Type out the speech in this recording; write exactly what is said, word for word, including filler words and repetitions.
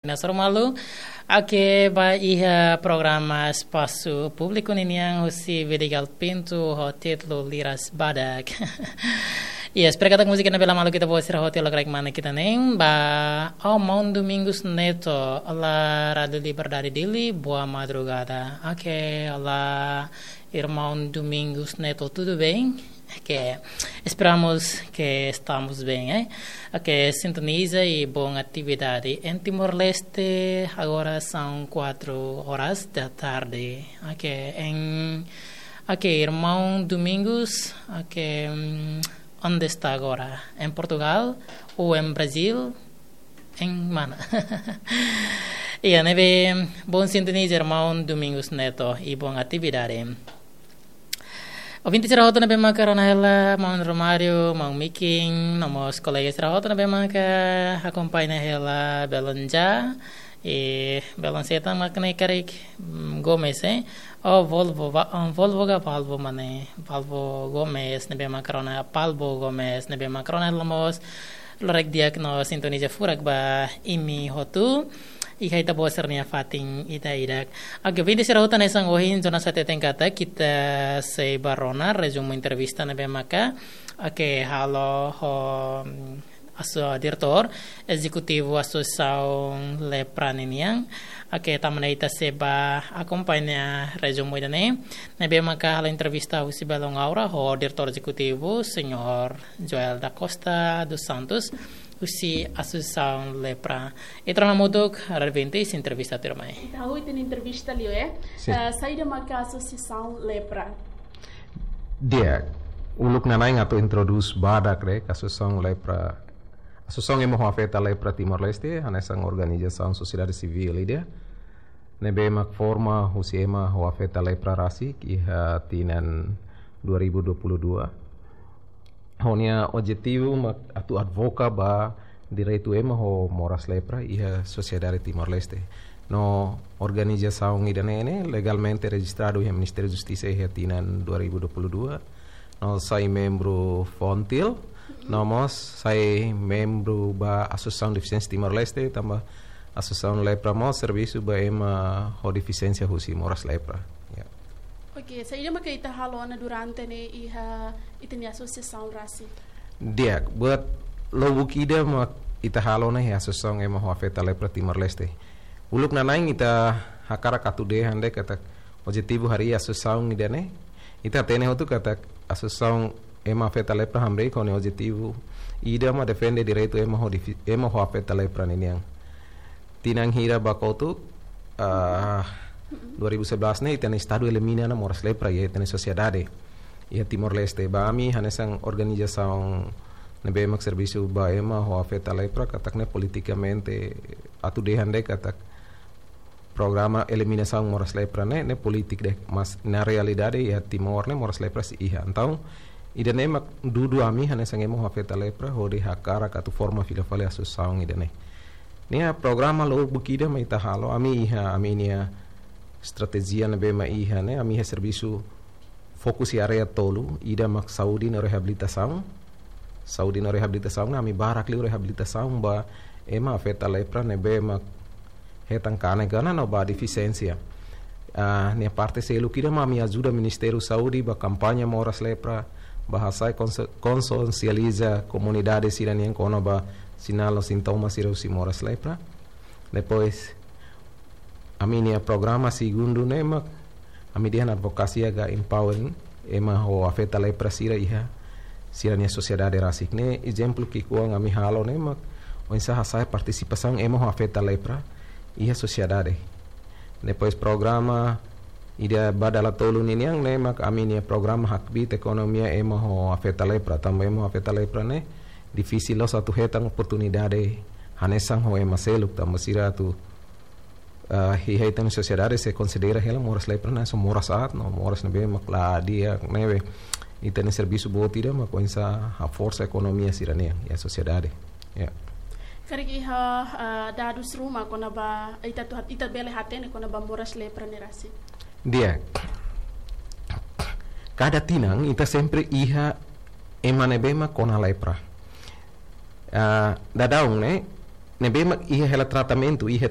Ina soru malu, ake ba iha programa Espasu Públiku ninian husi Vidigal Pintu ho títulu Liras Badak. Yes, espera katak múzika ne'e bele malu ita-boot sira hotu iha lokraik mana ita-nia. Ba, oh, Irmão Domingos Neto, olá, Rádio Liberdade Dili, boa madrugada. Ok, olá, Irmão Domingos Neto, tudo bem? Ok, esperamos que estamos bem, eh? Ok, sintoniza e boa atividade. Em Timor-Leste, agora são quatro horas da tarde. Ok, em, ok, Irmão Domingos, ok, hum, onde está agora? Em Portugal ou em Brasil? Em mana? Iha ne'ebé, bom sintonia, Irmão Domingos Neto, e boa atividade. Ouvinte sira hotu ne'ebé maka rona hela, Maun Romário, Maun Mikin, no mós kolega sira hotu ne'ebé maka akompaña hela belun ja, i belun seta mak ne'e karik, mm, Gomes, eh? Oh, Volvo, va-, oh, Volvo ka Palvo mane, Palvo Gomes, ne'ebé maka rona Palvo Gomes, ne'ebé maka rona hela mós, lokraik di'ak no sintoniza furak ba imi hotu. Iha ita-boot sira-nia fatin ida-idak. Oke, ouvinte sira hotu, hanesan ohin Jonas hateten katak ita sei bá rona rezumu entrevista ne'ebé maka, oke, halo ho, mm, aso-, diretór ezekutivu Asosiasaun Lepra ninian. Oke, tanba ne'e ita sei bá akompaña rezumu ida-ne'e. Ne'ebé maka halo entrevista husi belun Aura ho diretór ezekutivu, señór Joel da Costa dos Santos, husi Asosiasaun Lepra. Ita rona hamutuk, Radvintis, entrevista tuirmai. Ita hahú ita-nia entrevista liu, eh? Sin. Eh, saida maka Asosiasaun Lepra? Di'ak, uluk nanain atu introdús badak de'it Asosiasaun Lepra. Asosiasaun Ema ho Afeta Lepra Timor-Leste, hanesan organizasaun sosiedade sivíl ida ne'ebé mak forma husi ema ho afeta lepra rasik iha tinan dua ribu dua puluh dua. Ho nia objetivu mak atu advoka ba direitu ema ho moras lepra iha sosiedade Timor-Leste. No organizasaun ida-ne'e ne'e legalmente rejistradu iha Ministériu Justisa iha tinan dua ribu dua puluh dua. No sai membru FONGTIL, no mós sai membru ba Asosiasaun Defisiénsia Timor-Leste, tanba Asosiasaun Lepra mós servisu ba ema ho defisiénsia husi moras lepra. Ya. Oke, saida maka ita halo ona durante ne'e iha ita-nia asosiasaun rasik? Di'ak, buat lubuk ida mak ita halo ona iha Asosiasaun Ema ho Afeta Lepra Timor-Leste. Uluk nanain ita hakarak atu dehan de'it katak objetivu harii asosiasaun ida-ne'e. Ita hatene hotu katak Asosiasaun Ema Afeta Lepra hamriik ho nia objetivu ida mak defende direitu ema ho difi-, ema ho afeta lepra ninian. Tinan hira ba kotuk, ah, dua ribu sebelas ne'e ita-nia Estadu elimina ona moras lepra iha ita-nia sosiedade iha Timor-Leste. Ba ami hanesan organizasaun ne'ebé mak servisu ba ema ho afeta lepra, katak ne'e politikamente atu dehan de'it katak programa eliminasaun moras lepra ne'e, ne'e polítika de'it, mas na realidade iha Timor ne'e moras lepra sei iha. Entaun, ida-ne'e mak dudu ami hanesan ema ho afeta lepra hodi hakarak atu forma fila fali asosiasaun ida-ne'e. Nia programa lubuk ida mak ita halo, ami iha, ami-nia estratéjia ne'ebé mak iha ne'e, ami iha servisu fokus iha área tolu, ida mak saúde no reabilitasaun. Saúde no reabilitasaun, ami barak liu reabilitasaun ba ema afeta lepra ne'ebé mak hetan kanek ona no ba defisiénsia. Ah, nia parte seluk ida mak ami ajuda Ministériu Saúde ba kampaña moras lepra, ba hasa'e konse-, konsiensializa komunidade sira-nian kona-ba sinál no sintoma sira husi moras lepra. Depois, ami-nia programa segundu ne'e mak ami dehan advokasia ka empowering ema ho afeta lepra sira iha sira-nia sosiedade rasik. Ne'e ezemplu ki'ikoan ami halo ne'e mak oinsá hasa'e partisipasaun ema ho afeta lepra iha sosiedade. Depois programa ida ba dala tolu ninian ne'e mak ami-nia programa hakbiit ekonomia ema ho afeta lepra. Tanba ema ho afeta lepra ne'e difisil loos atu hetan oportunidade hanesan ho ema seluk, tanba sira atu, ah, iha ita-nia sosiedade sei konsidera hela moras lepra ne'e hanesan moras aat, no moras ne'ebé mak la di'ak ne'ebé. Ita-nia servisu boot ida mak oinsá haforsa ekonomia sira-nian iha sosiedade. Ya. Karik iha, ah, dadus ruma kona-ba ita atu hat-, ita bele hatene kona-ba moras lepra ne'e rasik? Di'ak. Kada tinan ita sempre iha ema ne'ebé mak kona lepra. Ah, daudaun ne'e, ne'ebé mak iha hela tratamentu, iha